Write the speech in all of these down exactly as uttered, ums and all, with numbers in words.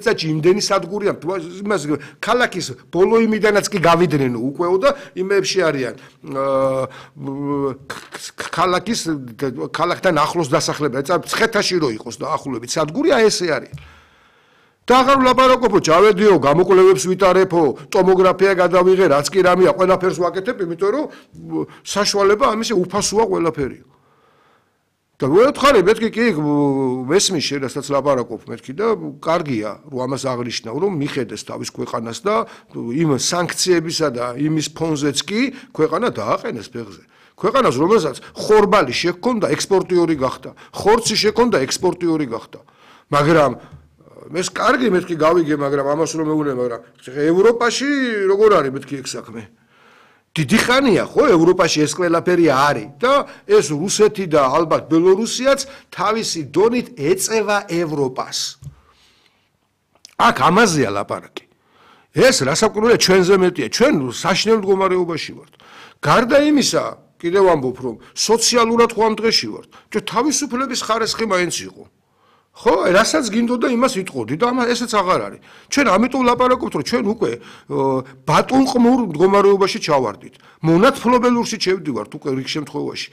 წაჭი იმდენი სადგურია იმას ქალაქის ბოლო იმიდანაც კი გავიდნენ უკეო და იმებში არიან ქალაქის ქალაქთან ახლოს დასახლება წა ცხეთაში რო იყოს და ახლობით სადგური აი ესე არის და აღარ ვლაპარაკობო ჯავედიო გამოკვლევებს ვიტარებო ტომოგრაფია გადავიღე რაც კი რამეა ყველაფერს ვაკეთებ იმიტომ რომ საშუალება ამისი უფასოა ყველაფერი და ვეთხარი მეთქი კი მესმის შედასაც ლაპარაკობ მეთქი და კარგია რომ ამას აღნიშნავ რომ მიხედეს თავის ქვეყანას და იმ სანქციებისა და იმის ფონზეც კი ქვეყანა დააყენეს ფეხზე ქვეყანას რომელსაც ხორბალი შექონდა ექსპორტიორი გახდა ხორცი შექონდა ექსპორტიორი გახდა მაგრამ მეს კარგი მეთქი გავიგე მაგრამ ამას რომ მეუბნე მაგრამ ევროპაში როგორ არის მეთქი ეგ საქმე დიდი ხანია ხო ევროპაში ეს ყველაფერი არის და ეს რუსეთი და ალბათ ბელორუსიაც თავისი დონით ეწევა ევროპას აქ ამაზეა ლაპარაკი ეს რასაკვირველია ჩვენზე მეტია ჩვენ საშინელ მდგომარეობაში ვართ გარდა იმისა კიდევ ამბობ რომ სოციალურად ხო ამ დღეში ვართ ჩვენ თავისუფლების ხარისხი მაინც იყო ხო, რასაც გინდოდა იმას იტყოდი და ამას ესეც აღარ არის. ჩვენ ამიტომ ლაპარაკობთ, რომ ჩვენ უკვე ბატონყმურ მდგომარეობაში ჩავარდით. მონათფლობელურში შევდივართ უკვე რიგ შემთხვევაში.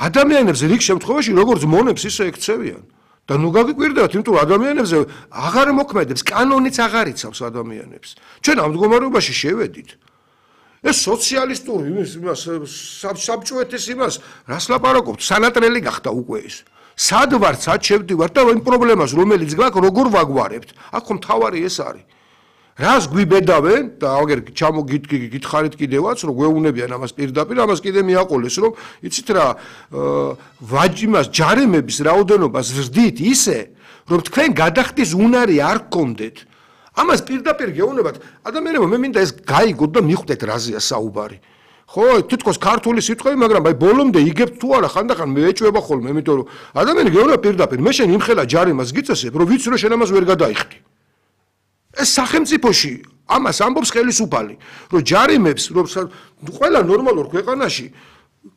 ადამიანებს რიგ შემთხვევაში როგორც მონებს ისე ექცევიან. და ნუ გაგიკვირდებათ, იმიტომ რომ ადამიანებზე აღარ მოქმედებს, კანონიც აღარ იცავს ადამიანებს. ჩვენ ამ მდგომარეობაში შევედით. ეს სოციალისტური იმის იმას საბჭოეთის იმას რას ლაპარაკობთ? სანატრელი გახდა უკვე ეს. სად ვარ, სად შევდივართ და იმ პრობლემას რომელიც გვაქვს როგორ ვაგვარებთ? აქ ხომ თავარი ეს არის. რას გვიბედავენ და აგერ ჩამოგითხარით კიდევაც რომ გვეუბნებიან ამას პირდაპირ ამას კიდე მიაყოლეს რომ იცით რა ვაჯიმას ჯარემების რაოდენობას ზრდით ისე რომ თქვენ გადახდის უნარი არ გქონდეთ ამას პირდაპირ გეუბნებათ ადამიანებო მე მინდა ეს გაიგოთ და მიხვდეთ რაზეა საუბარი ხო თითქოს ქართული სიტყვები მაგრამ აი ბოლომდე იგებთ თუ არა ხანდახან მე ეჭვება ხოლმე იმიტომ რომ ადამიანი გეუბნება პირდაპირ მე შენ იმხელა ჯარემას გიწესებ რომ ვიცი რომ შენ ამას ვერ გადაიხდი ეს სახელმწიფოში ამას ამბობს ხელისუფალი რომ ჯარიმებს რომ ყველა ნორმალურ ქვეყანაში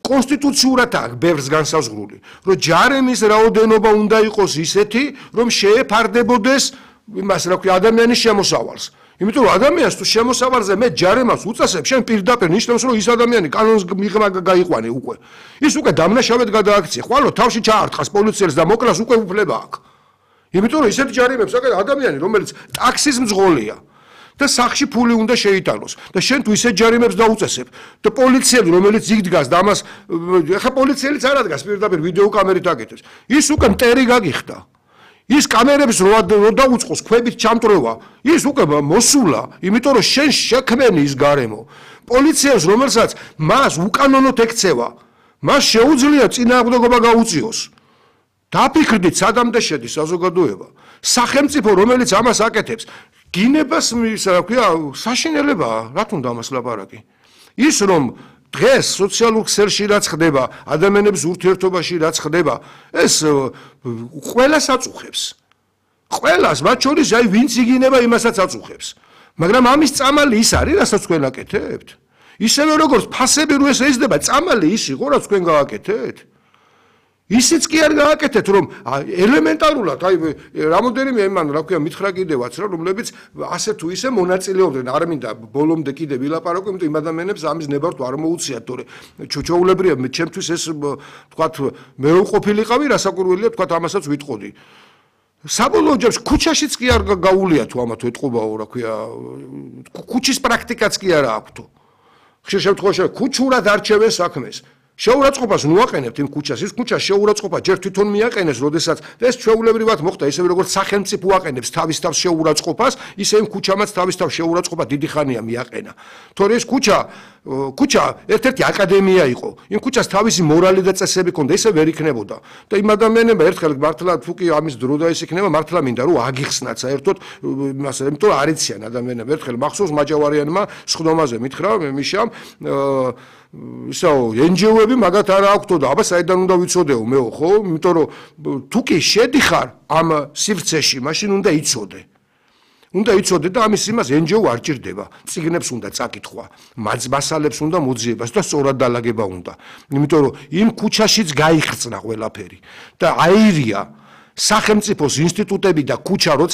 კონსტიტუციურად აქვს ბევრს განსაზღვრული რომ ჯარემის რაოდენობა უნდა იყოს ისეთი რომ შეეფარდებოდეს იმას რა ქვია ადამიანის შემოსავალს იმიტომ რომ ადამიანს თუ შემოსავალზე მე ჯარემას უწესებ შენ პირდაპირ ნიშნავს რომ ის ადამიანი კანონს მიღება გაიყვანე უკვე ის უკვე დამნაშავედ გადააქცია ხვალო თავში ჩაარტყას პოლიციელს და მოკლას უკვე უფლება აქვს იმიტომ რომ ისეთი ჯარიმებს აკეთებს ადამიანი რომელიც ტაქსის მძღოლია და სახში ფული უნდა შეიტანოს და შენ თუ ისეთ ჯარიმებს დაუწესებ და პოლიციელი რომელიც იქ დგას და ამას ეხა პოლიციელიც არ ადგას პირდაპირ ვიდეო კამერით აკეთებს ის უკვე მტერი გაგიხდა ის კამერებს რო დაუწყოს ქვებით ჩამტრევა ის უკვე მოსულა იმიტომ რომ შენ შექმენი ის გარემო პოლიციას რომელსაც მას უკანონოდ ექცევა მას შეუძლია წინააღმდეგობა გაუწიოს დაფიქრდით სადამდე შედის საზოგადოება სახელმწიფო რომელიც ამას აკეთებს გინებას რა ქვია საშინელებაა რა თუნდა ამას ლაპარაკი ის რომ დღეს სოციალურ ქსელში რაც ხდება ადამიანების ურთიერთობაში რაც ხდება ეს ყველას აწუხებს ყველას მათ შორის აი ვინც იგინება იმასაც აწუხებს მაგრამ ამის წამალი ის არის რასაც თქვენ აკეთებთ ისევე როგორც ფასები რო ეს ეძდება წამალი ის იყო რაც თქვენ გააკეთეთ ისიც კი არ გააკეთეთ რომ ელემენტარულად აი რამოდენიმე იმან რა ქვია მითხრა კიდევაც რა რომლებიც ასე თუ ისე მონაწილეობდნენ არ მინდა ბოლომდე კიდე ვილაპარაკო იმიტომ იმ ადამიანებს ამის ნებართვა არ მოუციათ თორე ჩოჩოულებრია ჩემთვის ეს თქვათ მე რო ყოფილიყავი რასაკვირველია თქვათ ამასაც ვიტყოდი საბოლოო ჯამში ქუჩაშიც კი არ გაულია თუ ამათ ეთყობაო რა ქვია ქუჩის პრაქტიკაც კი არ აქვს თუ ხშირ შემთხვევაში ქუჩურად არჩევენ საქმეს შეურაცხყოფას ნუაყენებთ იმ ქუჩას ის ქუჩა შეურაცხყოფა ჯერ თვითონ მიაყენეს როდესაც ეს ჩვეულებრივად მოხდა ისე როგორც სახელმწიფო აყენებს თავის თავს შეურაცხყოფას ისე იმ ქუჩამაც თავის თავს შეურაცხყოფა დიდი ხანია მიაყენა თორე ეს ქუჩა ქუჩა ერთ-ერთი აკადემია იყო იმ ქუჩას თავისი მორალი და წესები ჰქონდა ისე ვერ იქნებოდა და იმ ადამიანებმა ერთხელ მართლა თუ კი ამის დრო და ის იქნება მართლა მინდა რომ აგიხსნათ საერთოდ იმას იმიტომ რომ არ იციან ადამიანები ერთხელ მახსოვს მაჯავარიანმა სხდომაზე მითხრა მიშამ ისაო ენჯიოები მაგათ არ აქვთო და აბა საიდან უნდა ვიცოდეო მეო ხო იმიტომ რომ თუ კი შედიხარ ამ სივრცეში მაშინ უნდა იცოდე უნდა იცოდე და ამის იმას ენჯიო არ ჭირდება წიგნებს უნდა წაკითხვა მასალებს უნდა მოძიებას და სწორად დალაგება უნდა იმიტომ რომ იმ ქუჩაშიც გაიხსნა ყველაფერი და აირია სახელმწიფოს ინსტიტუტები და ქუჩა